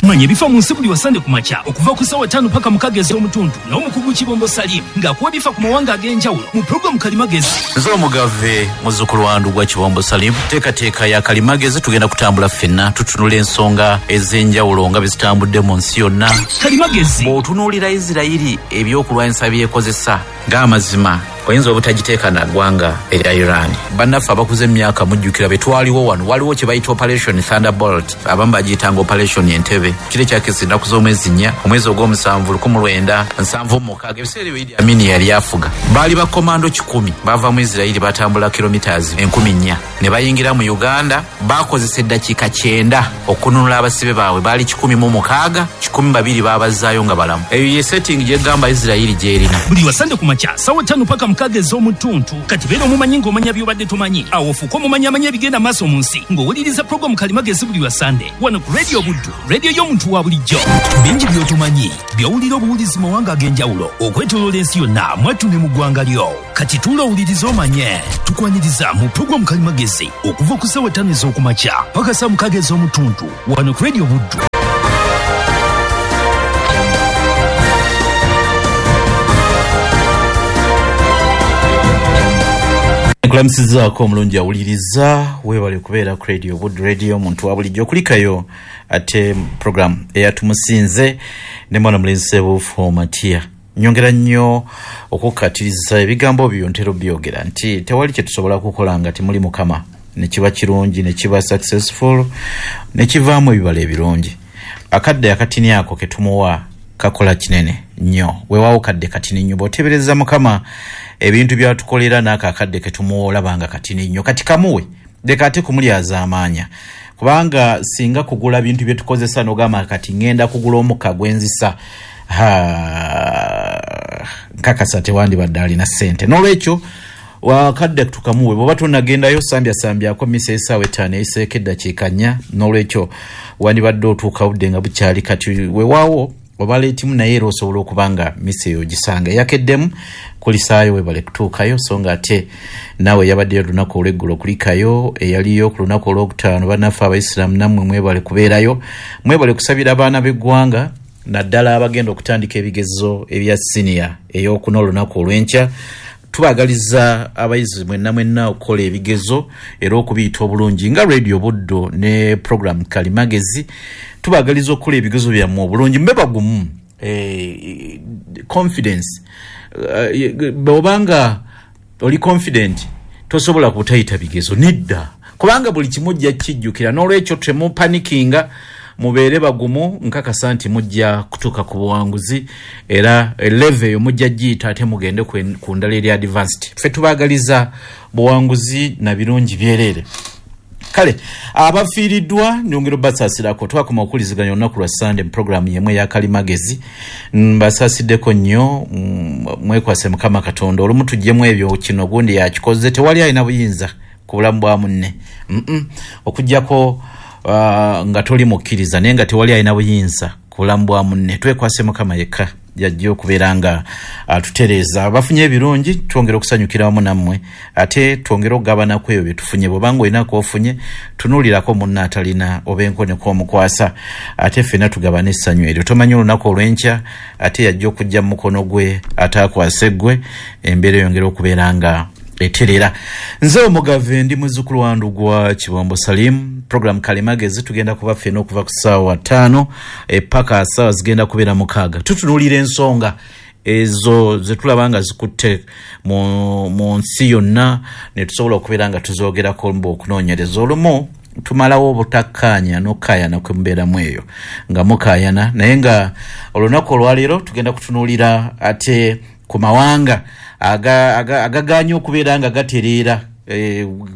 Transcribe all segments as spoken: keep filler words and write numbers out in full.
Manya ebifa mu nsi buli wa Sande ku makya okuva ku ssaawa ttaano paka mukaaga ez'omutundu n'omukugu Kibombo Salim ng'akuwa ebifa ku mawanga ag'enjawulo mu pulogulaamu Kalimagezi. Nze omugave muzzukulu wa Ndugwa Kibombo Salim, teekateeka ya Kalimagezi tugenda kutambula ffenna tutunula ensonga ez'enjawulo nga bwe zitambudde mu nsi yonna. Kalimagezi. Bw'otunuulira Isirayiri ebyokulwanyisa by'ekozesa ng'amazima oyinza obutagiteeka na ggwanga erya Iran. Bannaffe abakuze emyaka mujjukira be twaliwo wano, waliwo kye bayita Operation Thunderbolt, abamu bagiyitanga Operation Entebbe. Kiro ekyakisa ennaku z'omwezi nnya, omwezi ogw'omusanvu lukumi lwenda nsanvu mu mukaaga, ebiseera ebyo Idi Amin yali afuga. Baali bakomando kikumi bava mu Isirayiri batambula kilometers enkumi nnya ne bayingira mu Uganda. Bakozesa eddakiika kyenda okununula abasibe baabwe, baali kikumi mu mukaaga, kikumi babiri baabazaayo nga balamu. Eyo ye setting gyegamba Isirayiri gy'erina. Buli wa Sande ku makya ssaawa ttaano paka mukaaga ez'omutuntu. Kati beera omumanyi ng'omanya by'obadde tomanyi, awo ofuuke omumanyi amanya ebigenda maaso mu nsi ng'owuliriza pulogulaamu Kalimagezi buli wa Sande wano ku Radio Buddu, radio y'omuntu wa bulijjo. Bingi by'otomanyi by'owulira obuwulizi mu mawanga ag'enjawulo okwetooloola ensi yonna mwattu ne mu ggwanga lyo. Kati tuula owulirize omanye. Tukwaniriza mu pulogulaamu Kalimagezi okuva ku ssaawa ttaano ez'okumakya paka ssaawa mukaaga ez'omutuntu wano ku Radio Buddu. Nkulamusizaako omulungi awuliriza, weebale kubeera ku Radio Buddu, radio omuntu wa bulijjo. Okulikayo ate program eyatumusinze ne mwana mulenzi Ssebuufu Matia. Nyongera nnyo okukkatiriza ebigambo byo ntera obyogera nti tewali kye tusobola kukola nga temuli Mukama, ne kiba kirungi, ne kiba successful, ne kivaamu ebibala ebirungi. Akadde akatini ako ke tumuwa kakola kinene nnyo. Weewaawo kadde katini nnyo, bw'oteebereza Mukama ebintu byatukolera n'ako akadde ke tumuwa olaba nga katini nnyo. Kati kamuwe, leka ate kumulyazaamaanya, kubanga singa kugula bintu bye tukozesa n'ogamba kati ŋŋenda kugula omukka gw'enzisa, nkakasa tewandibadde alina ssente. N'olwekyo wakadde tukamuwe, bw'oba tonnagendayo sambyasambyako mmisa essaawa ettaano eyiseeko eddakiika nnya. N'olwekyo wandibadde otuuka budde nga bukyali. Kati weewaawo oba leetimu, naye era osobola okuba nga mmisa eyo ogisanga eyakeddemu kulisaayo. Weebale kutuukayo, so nga ate naawe yabaddeyo olunaku olw'eggulo kulikayo eyaliyo ku lunaku olwokutaano. Bannaffe Abayisiraamu nammwe mwebale kubeerayo, mwebale kusabira abaana b'eggwanga naddala abagenda okutandika ebigezo ebya siniya ey'okuna olunaku olw'enkya. Tubaagaliza abayizi mwenna mwenna okukola ebigezo era okubiyita obulungi nga Radio Buddu ne program Kalimagezi. Tubaagaliza okukola ebigezo byammwe obulungi, mube bagumu, eh, confidence. Bw'obanga oli confident tosobola kutayita bigezo nedda, kubanga buli kimu ojja kijjukira. N'olwekyo temupanikinga, mubeere bagumu, nkakasa nti mujja kutuuka ku buwanguzi era level eyo mujja giyita ate mugende ku ndala eri advanced. Ffe tubaagaliza buwanguzi na birungi byereere. Kale abafiiriddwa nyongera obbasaasirako. Twakoma okuwuliziganya olunaku lwa Sande mu pulogulaamu yemu eya Kalimagezi. Mbasaasiddeko nnyo, mwekwase Mukama Katonda. Olumu tuggyemu ebyo kino gundi yakikoze, tewali alina buyinza ku bulamu bwa munne, okuggyako Uh, nga toli mukkiriza, naye nga tewali alina buyinza ku bulamu bwa munne. Twekwase Mukama yekka yajja okubeera nga atutereeza. Abafunye ebirungi twongere okusanyukira wamu nammwe, ate twongere okugabanaku ebyo bye tufunye. Bw'obanga olina k'ofunye, tunuulirako munno atalina, oba enkoneko omukwasa, ate ffenna tugabane essanyu eryo. Tomanyi olunaku olw'enkya ate yajja okujja mu mukono gwe ate akwase ggwe, embeera eyongere okubeera nga eterera. Nze omugave ndi muzzukulu wa Ndugwa Kibombo Salim. Program Kalimagezi tugenda kuba ffenna okuva ku ssaawa ttaano paka ssaawa zigenda kubeera mukaaga. Tutunuulira ensonga ezo ze tulaba nga zikutte mu, mu nsi yonna ne tusobola okubeera nga tuzoogerako mbu okunoonyereza. Olumu tumalawo obutakkaanya n'okukaayana kwe mubeeramu eyo nga mukaayana, naye nga olunaku olwaleero tugenda kutunuulira ate ku mawanga agagaanye okubeera nga gatereera.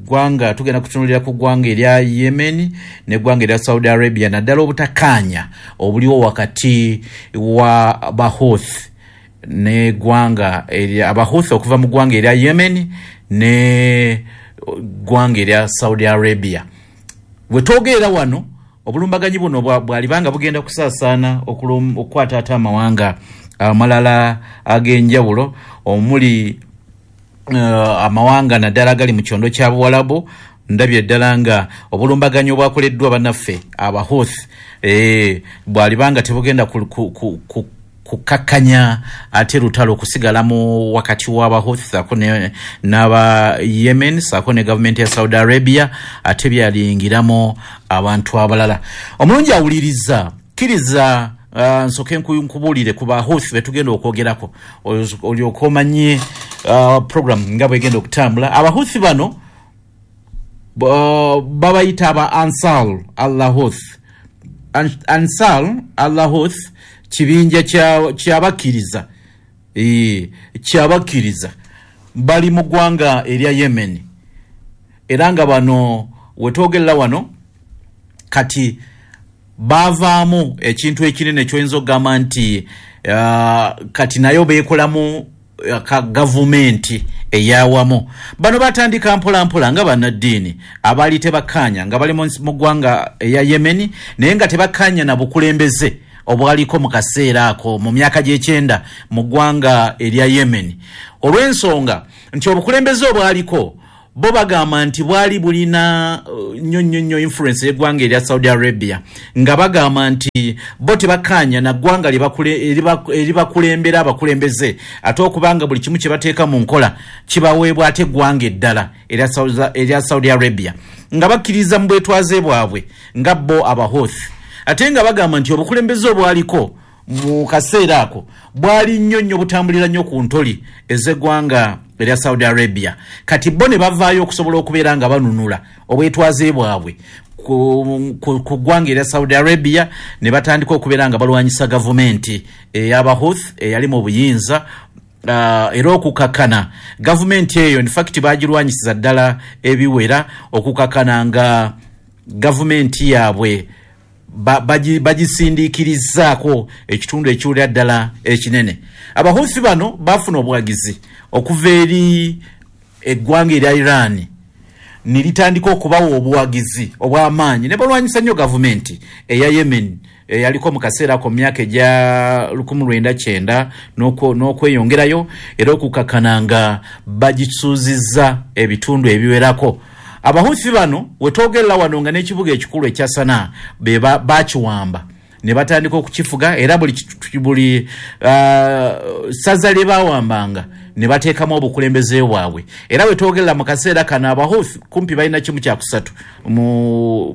Ggwanga tugenda kutunuulira ku ggwanga erya Yemen n'eggwanga erya Saudi Arabia, naddala obutakkaanya obuliwo wakati wa Bahouthi n'eggwanga Abahouthi okuva mu ggwanga erya Yemen ne ggwanga erya Saudi Arabia. We twogerera wano obulumbaganyi buno bwalibanga bugenda kusaasaana okukwata ate amawanga amalala ag'enjawulo omuli uh, amawanga naddala agali mu kyondo kya Buwalabu Ndabye ddala nga obulumbaganyi obwakoleddwa bannaffe Abahouthi eh, bwalibanga tebugenda ku, ku, ku, ku kukakkanya ate lutalo okusigala mu wakati w'Abahouthi saako n'aba Yemen saako ne gavumenti ya Saudi Arabia, ate byalingiramu abantu abalala. Omulungi awuliriza, kkiriza uh, nsooke nkubuulire ku Bahouthi betugenda okwogerako olyoke omanye uh, program nga bwegenda okutambula. Abahouthi bano uh, babayita aba Ansar al-Houthi. Ansar al-Houthi kibinja kyabakkiriza e, kyabakkiriza bali mu ggwanga erya Yemen, era nga bano wetwogerera wano kati bavaamu ekintu ekinene kyoyinza okugamba nti uh, kati nayo beekolamu ka gavumenti eyawamu. Bano batandika mpola mpola nga bannaddiini abaali tebakkaanya nga bali mu ggwanga eya Yemen, naye nga tebakkaanya na bukulembeze obwaliko mu kaseera ako mu myaka gy'ekyenda mu ggwanga erya Yemen, olw'ensonga nti obukulembeze obwaliko bo bagamba nti bwali bulina nnyo nnyo nnyo influence y'eggwanga erya Saudi Arabia, nga bagamba nti bo tebakkaanya na ggwanga eribakulembera abakulembeze, ate okubanga buli kimu kye bateeka mu nkola kibaweebwa ate eggwanga eddala erya Saudi Arabia, nga bakkiriza mu bwetwaze bwabwe nga bo Abahouthi. Ate nga bagamba nti obukulembeze obwaliko mu kaseera ako bwali nnyo nnyo butambulira nnyo ku ntoli ez'eggwanga erya Saudi Arabia. Kati bo ne bavaayo okusobola okubeera nga banunula obwetwaze bwabwe ku, ku, ku ggwanga erya Saudi Arabia, ne batandika okubeera nga balwanyisa gavumenti ey'Abahouthi eyali mu buyinza. Uh, era okukakkana gavumenti eyo in fact bagirwanyisiza ddala ebiwera, okukakkana nga gavumenti yaabwe bagisindiikirizaako ekitundu ekiwulira ddala ekinene. Abahouthi bano bafuna obuwagizi okuva eri eggwanga erya Iran, ne litandika okubawa obuwagizi obw'amaanyi ne balwanyisa nnyo gavumenti eya Yemen eyaliko mu kaseera ako mu myaka egya lukumi lwenda kyenda n'okweyongerayo, era okukakkana nga bagisuuzizza ebitundu ebiwerako. Abahouthi bano wetwogerera wano nga n'ekibuga ekikulu ekya Sanaa be bakiwamba ne batandika okukifuga, era buli buli uh, ssaza lye bawambanga ne bateekamu obukulembeze bwabwe. Era wetwogerera mu kaseera kano Abahouthi kumpi balina kimu kya kusatu mu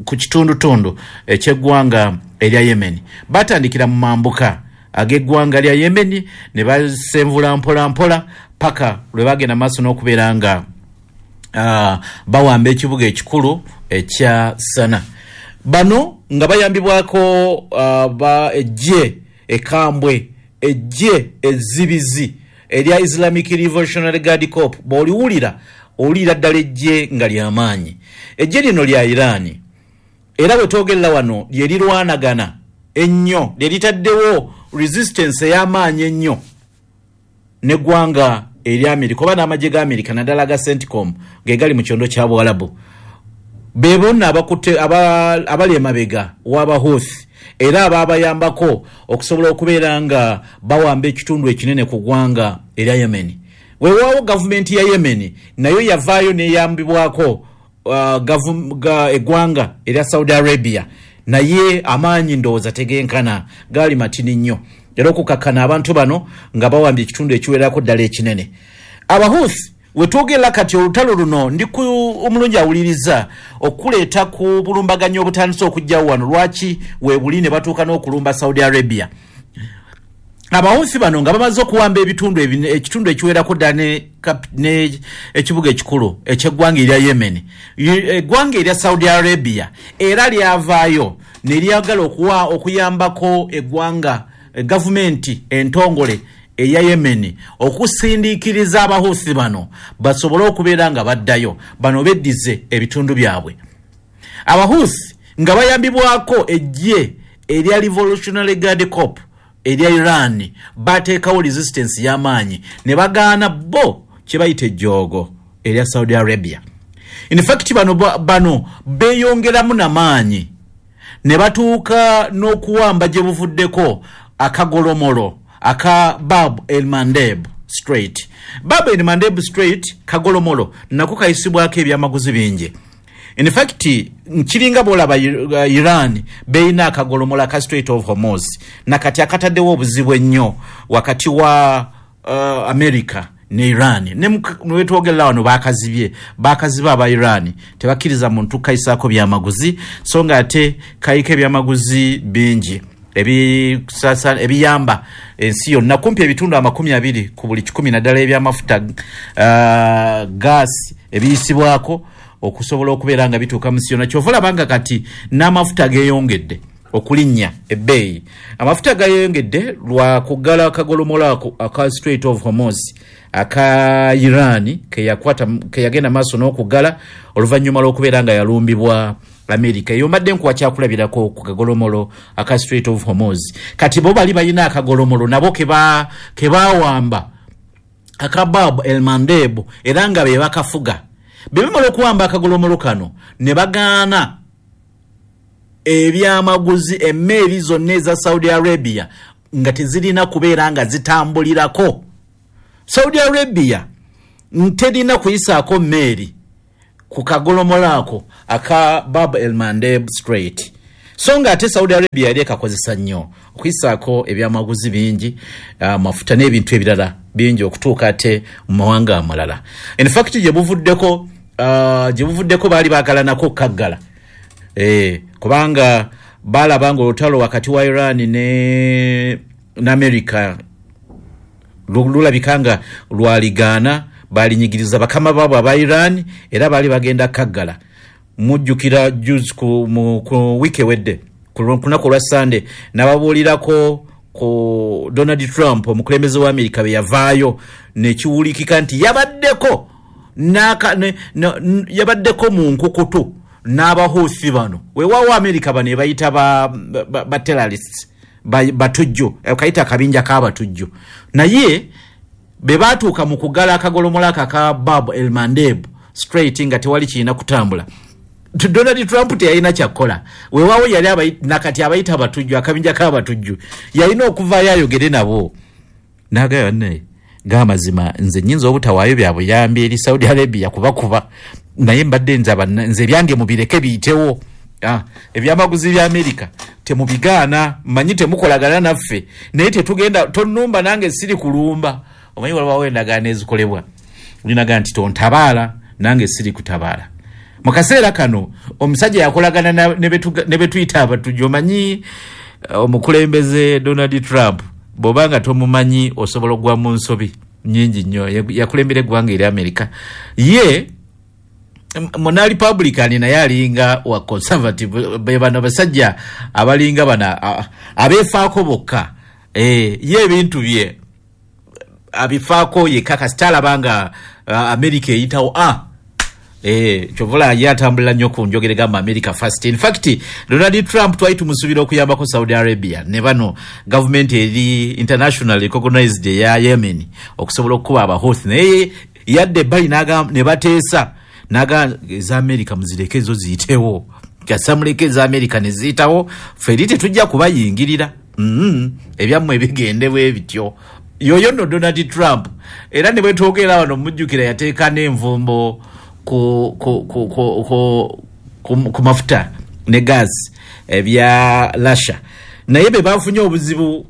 ku kitundutundu eky'eggwanga erya Yemen. Batandikira mu mambuka ag'eggwanga lya Yemen ne basenvula mpola mpola paka lwe bagenda maaso n'okubeera nga Uh, bawamba ekibuga ekikulu ekya Sanaa. Bano nga bayambibwako uh, ba eggye ekambwe, eggye ezzibizi erya Islamic Revolutionary Guard Corps. Bw'oliwulira owulira ddala eggye nga ly'amaanyi. Eggye lino lya Iran, era bwe twogerera wano lye lirwanagana ennyo, lye litaddewo resistance ey'amaanyi ennyo n'eggwanga erya Amerika oba n'amagye ga Amerika naddala aga CENTCOM ge gali mu kyondo kya Buwalabu. Be bonna abakutte abali emabega w'Abahouthi era abaabayambako okusobola okubeera nga bawamba ekitundu ekinene ku ggwanga erya Yemen. Weewaawo gavumenti ya Yemen nayo yavaayo n'eyambibwako uh, eggwanga erya Saudi Arabia, naye amaanyi ndowooza tegenkana, gaali matini nnyo, era okukakkana abantu bano nga bawambye ekitundu ekiwerako ddala ekinene. Abahouthi wetwogerera kati olutalo luno ndi ku omulungi awuliriza okuleeta ku bulumbaganyi obutandise okujjawo wano, lwaki weebuli ne batuuka n'okulumba Saudi Arabia. Abahouthi bano nga bamaze okuwamba ebitundu ekitundu ekiwerako ddala ne ekibuga ekikulu eky'eggwanga erya Yemen, eggwanga erya Saudi Arabia era lyavaayo ne lyagala okuwa okuyambako eggwanga gavumenti entongole eya Yemen okusindiikiriza Abahouthi bano basobole okubeera nga baddayo, bano beddize ebitundu byabwe. Abahouthi nga bayambibwako eggye erya Revolutionary Guard Corps erya Iran bateekawo resistance y'amaanyi ne bagaana bo kye bayita ejjoogo erya Saudi Arabia. In fact bano bano beeyongeramu namaanyi ne batuuka n'okuwamba gye buvuddeko akagolomolo aka Bab el Mandeb. Strait. Bab el Mandeb Strait kagolomolo nako kayisibwako ebyamaguzi bingi. In fact, nkiringa bw'olaba Iran beyina akagolomola ka Strait of Hormuz, nakati akataddewo obuzibu ennyo wakati wa uh, America ne Iran. Ne wetwogerera wano bakazibye, bakaziba aba Iran tebakkiriza muntu kayisaako byamaguzi, so nga ate kayiko ebyamaguzi bingi ebisasa ebiyamba ensi yonna, kumpi ebitundu amakumi abiri ku buli kikumi, naddala ebyamafuta, uh, gaasi ebiyisibwako okusobola okubeera nga bituuka mu nsi yonna. Kyova olaba nga kati n'amafuta geeyongedde okulinnya ebbeeyi. Amafuta gayongedde lwa kuggala akagolomola ako aka Strait of Hormuz aka Iran keyakwata, keyagenda maaso n'okuggala oluvannyuma lw'okubeera nga yalumbibwa America. Eyo mbadde nkuwa kyakulabirako ku kagolomolo aka Strait of Hormuz. Kati bo bali balina akagolomolo nabo keba kebawamba aka Bab el Mandeb, era nga be bakafuga. Bwe bamala okuwamba akagolomolo kano ne bagaana ebyamaguzi, emmeeri zonna eza Saudi Arabia nga tezirina kubeera nga zitambulirako. Saudi Arabia terina kuyisaako mmeeri ku kagolomolo ako aka Bab el Mandeb Strait. So nga ate Saudi Arabia yali ekakozesa nnyo okuyisaako ebyamaguzi bingi, amafuta n'ebintu ebirala bingi okutuuka ate mu mawanga amalala. In fact, gye buvuddeko uh, gye buvuddeko baali baagala nako kaggala, eh, kubanga balaba nga olutalo wakati wa Iran ne, ne America lulabika nga lwaligaana, balinyigiriza bakama baabwe aba Iran, era baali bagenda kaggala. Mujjukira juzi ku, mu, ku wiiki ewedde ku lunaku olwa Sande nababuulirako ku Donald Trump omukulembeze wa Amerika bwe yavaayo nekiwulikika nti yabaddeko naka, ne, ne, yabaddeko mu nkukutu n'abahuusi bano. Weewaawo Amerika bano ebayita ba, ba, ba terrorists, batujju, kayita akabinja k'abatujju, naye be baatuuka mu kuggala akagolomola ako aka Bab el Mandeb Strait nga tewali kirina kutambula. Donald Trump teyalina kyakkola. Weewaawo yali nakati abayita abatujju, akabinja k'abatujju, yalina okuvaayo ayogere nabo n'agamba, naye g'amazima nze nnyinza obutawaayo bya buyambi eri Saudi Arabia kubakuba, naye mbadde nze nze ebyange mubireke biyitewo. Ah, ebyamaguzi bya Amerika temubigaana, mmanyi temukolagana naffe, naye tetugenda, tonnumba nange siri kulumba. Omanyi waliwo endagaano ezikolebwa, olinaga nti tontabaala nange siri kutabaala. Mu kaseera kano omusajja yakolagana ne betuyita abatujju. Omanyi omukulembeze Donald Trump bw'oba nga tomumanyi osobola okugwa mu nsobi nnyingi nnyo. Yakulembera eggwanga eri Amerika, ye muna Republican naye alinga wa conservative. Be bano basajja abalinga bana abeefaako bokka. Eh, ye ebintu bye abifaako yekka, kasita alaba nga Amerika eyitawo ah Eh, kyovula ye atambulira nnyo ku njogera egamba America first. In fact, Donald Trump twali tumusuubira okuyambako Saudi Arabia ne bano gavumenti eri international recognized eya Yemen okusobola okukuba Abahouthi, naye yadde ebbali ne bateesa naga eza America muzireke ezo ziyitewo, kasamuleke eza America ne ziyitawo, ffe eri tetujja kubayingirira. mm, ebyammwe bigende bwe bityo. Yoyo nno Donald Trump. Era ne bwetwogera wano mujjukira yateeka n'envumbo ku, ku, ku, ku, ku, ku, ku mafuta ne gas ebya Russia, naye be bafunye obuzibu,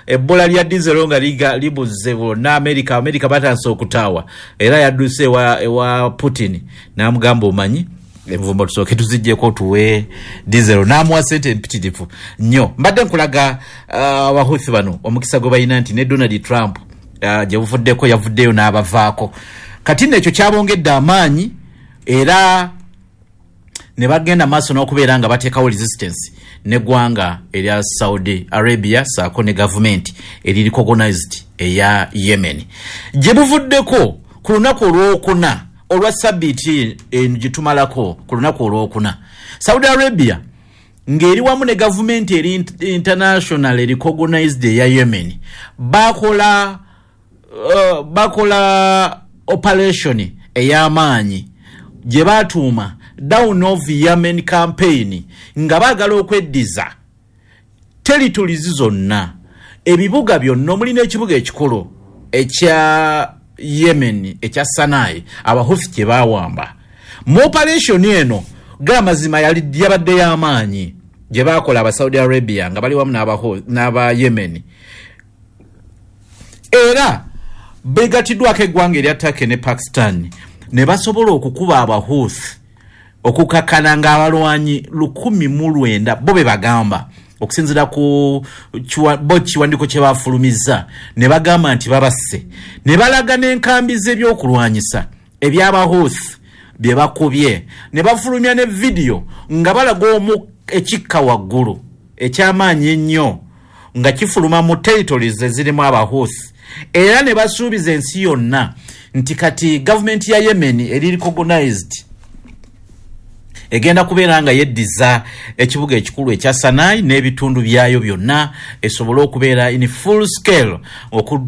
ebbola lya diesel nga libuze bonna America. America batandise okutaawa, era yadduse ewa, ewa Putin n'amugamba omanyi envumbo tusooke tuziggyeko tuwe diesel, n'amuwa sente empitirivu nnyo. Mbadde nkulaga Abahuthi uh, bano omukisa gwe balina nti ne Donald Trump uh, gye buvuddeko yavuddeyo n'abavaako. Kati nno ekyo kyabongedde amaanyi, era ne bagenda maaso n'okubeera nga bateekawo resistance n'eggwanga erya Saudi Arabia saako ne gavumenti eri recognized eya Yemen. Gye buvuddeko ku lunaku olwokuna olwa sabbiiti eno gye tumalako, ku lunaku olwokuna Saudi Arabia ng'eri wamu ne gavumenti eri international recognized eya Yemen bakola uh, bakola operation ey'amaanyi gye baatuuma Down of Yemen campaign, nga baagala okweddiza territories zonna, ebibuga byonna omuli n'ekibuga ekikulu ekya Yemen ekya Sanai Abahuthi kye baawamba. Mu operation eno gamazima yali yabadde y'amaanyi gye baakola aba Saudi Arabia nga bali wamu n'aba Yemen, era begatiddwako eggwanga erya Turkey ne Pakistan ne basobola okukuba Abahuthi okukakkana ng'abalwanyi lukumi mu lwenda bo be bagamba okusinziira ku bo kiwandiiko kye bafulumizza, ne bagamba nti babasse ne balaga n'enkambi z'ebyokulwanyisa eby'Abahuthi bye bakubye, ne bafulumya ne vidiyo nga balaga omu ekikka waggulu eky'amaanyi ennyo nga kifuluma mu territories ezirimu Abahuthi, era ne basuubiza ensi yonna nti kati gavumenti ya Yemen eri recognized egenda kubeera nga yeddiza ekibuga ekikulu ekya Sanai n'ebitundu byayo byonna esobole okubeera in full scale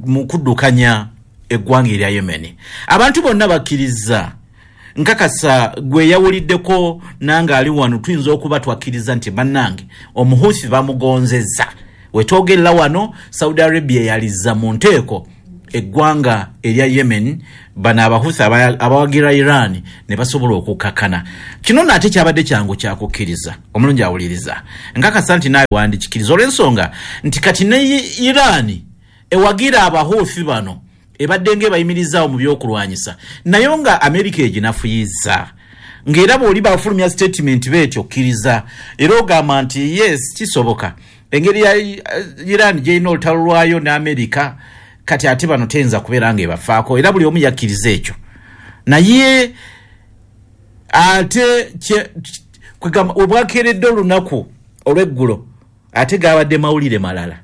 mu kuddukanya eggwanga erya Yemen. Abantu bonna bakkiriza, nkakasa gwe yawuliddeko nange ali wano tuyinza okuba twakkiriza nti bannange Omuhuthi bamugonzezza. Wetwogerera wano Saudi Arabia yalizza mu nteeko eggwanga erya Yemen, bano Abahuthi abawagira Iran ne basobola okukakkana. Kino nno ate kyabadde kyangu kyakukkiriza, omulungi awuliriza nkakasa nti naawe wandikikiriza olw'ensonga nti kati ne Iran ewagira Abahuthi bano ebadde ng'ebayimirizaawo mu byokulwanyisa, naye nga Amerika eginafuyiza ng'era bw'oli bafulumya statement beetyo okkiriza era ogamba nti yes kisoboka engeri ya Iran gy'erina olutalo lwayo ne Amerika, kati ate bano teyinza kubeera ng'ebafaako, era buli omu yakkiriza ekyo. Naye ate kwegamba obwakeeredde olunaku olw'eggulo ate gaabadde mawulire malala.